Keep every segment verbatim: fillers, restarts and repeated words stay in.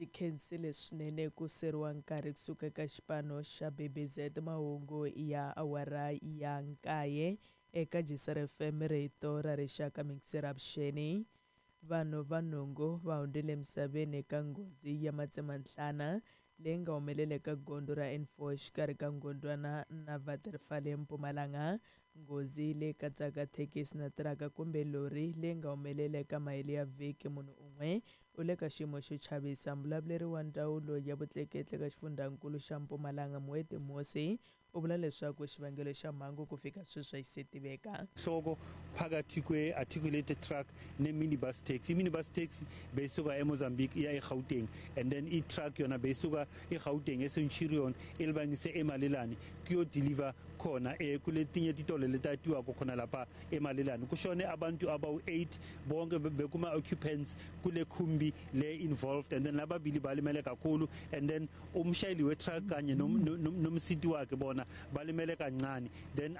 Ndzi khensile swinene ku seriwa nkarhi kusuka ka xipano xa B B Z mahungu ya awara ya nkaye eka G S R F M, rito ra rixaka. Mixer avuxeni. Vanhu va nhungu va hundzile emisaveni eka nghozi ya matsemanhlana leyi nga humelela eka gondzo ra N four exikarhi ka Ngondwana na Waterval eMpumalanga. Nghozi leyi katsaka thekisi na tiraka kumbe lori leyi nga humelela eka mahelo ya vhiki. Munhu un'we u le ka xiyimo xo chavisa. Mbulavuleri wa ndzawulo ya vutleketli ka xifundzankulu xa Mpumalanga, Muedi Mosi, u vula leswaku xivangelo xa mhangu ku fika sweswi a xi se tiveka. Hloko phakathi kwe-articulated truck ne-minibus taxi. I-minibus taxi beyisuka eMozambique iya eGauteng, and then i-truck yona beyisuka eGauteng eCenturion ilibangise eMalelane kuyodeliver khona eh, kuletinye titolo letatiwako khona lapha eMalelane. Kushone abantu abawu-eight bonke bekuma-occupants kule khumbi le involved, and then lababili balimele kakhulu, and then umshayeli we-truck kanye nomsiti wakhe bona balimele kancane. Then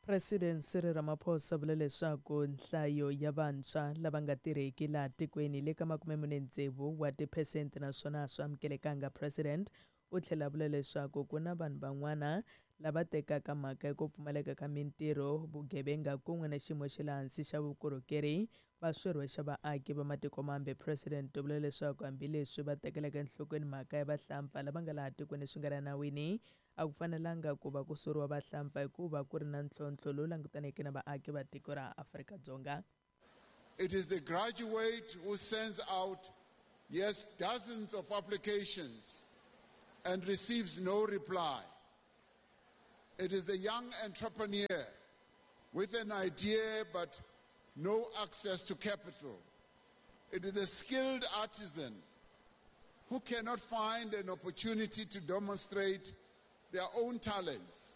President Cyril Ramaphosa vula leswaku nhlayo ya vantshwa lava nga tirheki laha tikweni le ka makume mune tsevu wa tiphesente, naswona a swi amukelekanga. President u tlhela vula leswaku ku na vanhu van'wana lava tekaka mhaka ya ku pfumaleka ka mintirho, vugevenga kun'we na xiyimo xa le hansi xa vukorhokeri va swi rhwexa vaaki va matiko mambe. President u vula leswaku hambileswi va tekelaka enhlokweni mhaka ya vahlampfa lava nga laha tikweni swi nga ri enawini, a ku fanelanga ku va ku soriwa vahlampfa hikuva ku ri na ntlhontlho lowu langutaneke na vaaki va tiko ra Afrika-Dzonga. It is the graduate who sends out, yes, dozens of applications and receives no reply. It is the young entrepreneur with an idea but no access to capital. It is the skilled artisan who cannot find an opportunity to demonstrate their own talents.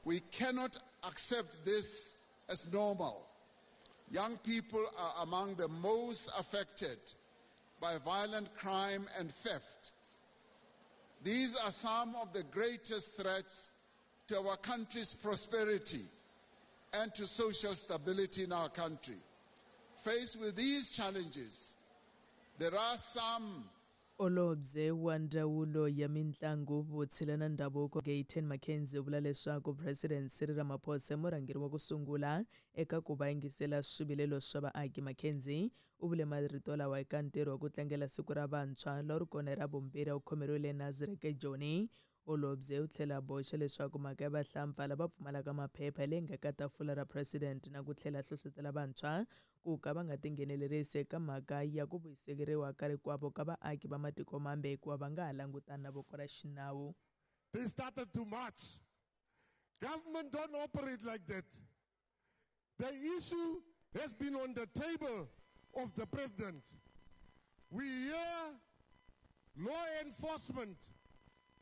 We cannot accept this as normal. Young people are among the most affected by violent crime and theft. These are some of the greatest threats to our country's prosperity and to social stability in our country. Faced with these challenges, there are some Holobye wa ndzawulo ya mitlangu, vutshila na ndhavuko, Gayton McKenzie, u vula leswaku President Cyril Ramaphosa i murhangeri wa ku sungula eka ku va yingisela swivilelo swa vaaki. McKenzie u vule marito lawa eka ntirho wa ku tlangela siku ra vantshwa lowu ri kona ra vumbirhi wu khomeriwile Nasrec eJoni. Holobye u tlhela a boxa leswaku mhaka ya vahlampfa lava pfumalaka maphepha leyi nga ka tafula ra president, na ku tlhela hlohlotela vantshwa ku ka va nga tinghenelerisi eka mhaka ya ku vuyisekeriwa ka rikwavo ka vaaki va matiko mambe, hikuva va nga ha langutana na voko ra xinawu. They started to march. Government don't operate like that. The issue has been on the table of the president. We hear law enforcement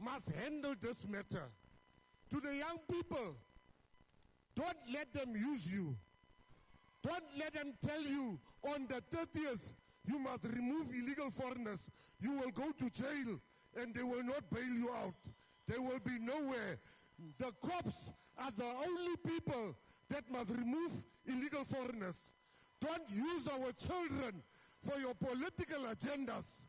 must handle this matter. To the young people, don't let them use you. Don't let them tell you on the thirtieth you must remove illegal foreigners. You will go to jail and they will not bail you out. They will be nowhere. The cops are the only people that must remove illegal foreigners. Don't use our children for your political agendas.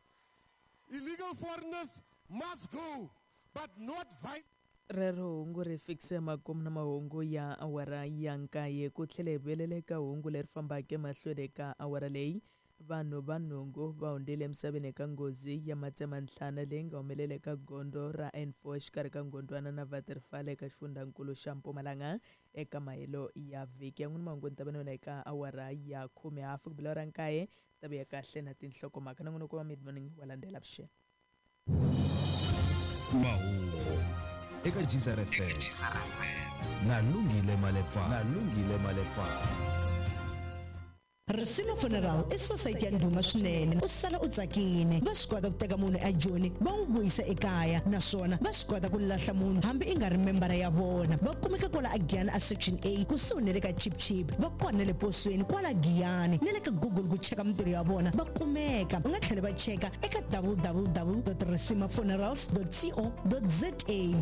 Illegal foreigners must go, but not violently. Rero hungu ri fikise makumu na mahungu ya awara ya nkaye. Ku tlhela hi vuyelela eka hungu leri fambaka emahlweni eka awara leyi. Vanhu va nhungu va hundzile emisaveni eka nghozi ya matsemanhlana leyi nga humelela eka gondzo ra N four exikarhi ka Ngondwana na Waterval eka xifundzankulu xa Mpumalanga eka mahelo ya vhiki ya n'wini. Mahungu ni ta va na yona eka awara ya khume hafu ku bila ra nkaye. Ta vuya kahle na tinhlokomhaka na n'wina ku va mid morning wa landzela. Vuxeni. Mahungu eka G S R F M na Lungile Malepa, na Lungile Malepa. Risima Funeral i society ya ndhuma swinene. U sala u tsakile. Va swi kota ku teka munhu ejoni va n'wi vuyisa ekaya, naswona va swi kota ku lahla munhu hambi i nga ri membara ya vona. Va kumeka kwala aGiyani a Section A, kusuhi na le ka Chip Chip. Va kona na le posweni kwala Giyani, na le ka Google ku cheka mintirho ya vona va kumeka. U nga tlhela va cheka eka W W W dot risimafunerals dot co dot za.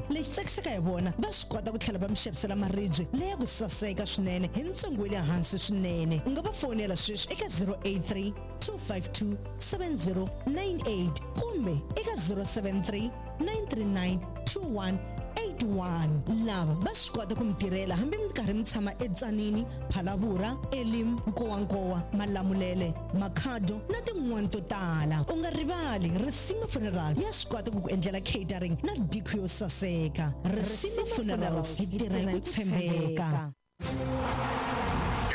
Lexi tsakisaka hi vona, va swi kota ku tlhela va mi xavisela maribye leya ku saseka swinene hi ntsengo wa le hansi swinene. U nga va fonela. sweswi eka zero eight three, two five two, seven zero nine eight kumbe eka zero seven three, nine three nine, two one eight one. Lava va swi kota ku mi tirhela hambi mi karhi mi tshama eTsanini, Phalaborwa, Elim, Nkowankowa, Malamulele, Makhado na tin'wani to tala. U nga rivali, Risima Funeral ya swi kota ku ku endlela catering na diko yo saseka. Risima Funerals, hi tirha hi ku tshembeka.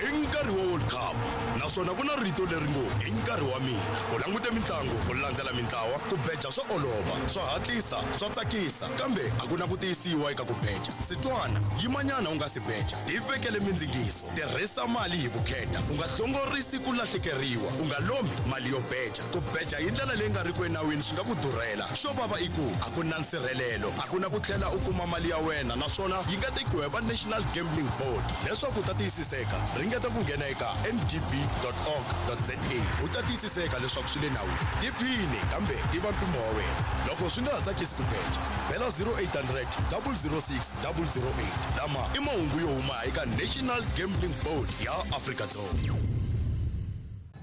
I nkarhi wa World Cup naswona ku na rito leri ngo i nkarhi wa mina. U langute mitlangu, u landzela mintlawa, ku beja swa olova, swa hatlisa, swa tsakisa, kambe a ku na ku tiyisiwa eka ku beja. Sitwana, yimanyana u nga si beja, tivekele mindzingiso, tirhisa mali hi vukheta, u nga hlongorisi ku lahlekeriwa, u nga lombi mali yo beja. Ku beja hi ndlela leyi nga riki enawini swi nga ku durhela. Xo vava i ku a ku na nsirhelelo, a ku na ku tlhela u kuma mali ya wena, naswona yi nga tekiwa hi va National Gambling Board. Leswaku u ta tiyisiseka, ringeta ku nghena eka n g b dot org dot z a u ta tiyisiseka leswaku swi le nawini. Tiphine kambe tiva mpimo wa wena. Loko swi nga ha tsakisi ku beja, bela zero eight hundred, double zero six, double zero eight. Lama i mahungu yo huma eka National Gambling Board ya Afrika-Dzonga.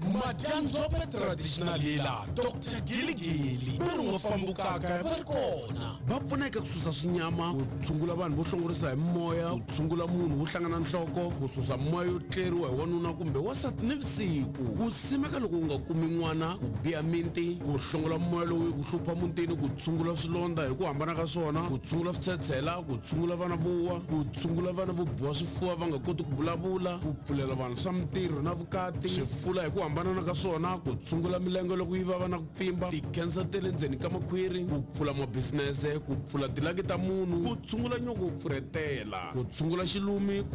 Madyandzombe traditional healer Doctor Giligili va ri nga fambukaka va ri kona. Va pfuna eka ku susa swinyama, ku tshungula vanhu vo hlongorisa hi moya, ku tshungula munhu wo hlangana nhloko, ku susa moya yo tleriwa hi wanuna kumbe wansati nivusiku, ku simeka loko u nga kumi n'wana, ku biha minti, ku hlongola moya lowu ku hlupha mutini, ku tshungula swilondza hi ku hambana ka swona, ku tshungula switshetshela, ku tshungula vana vo wa, ku tshungula vana vo biwa swifuva va nga koti ku vulavula, ku pfulela vanhu swa mintirho na vukati, swifula hi ku hambana ka swona, ku tshungula milenge loko yi vava na ku pfimba, ti-cancer ta le ndzeni ka makhwiri, ku pfula mabisinese, ku pfula tilaki ta munhu, ku tshungula nyoko wo pfurhetela, ku tshungula xilumi,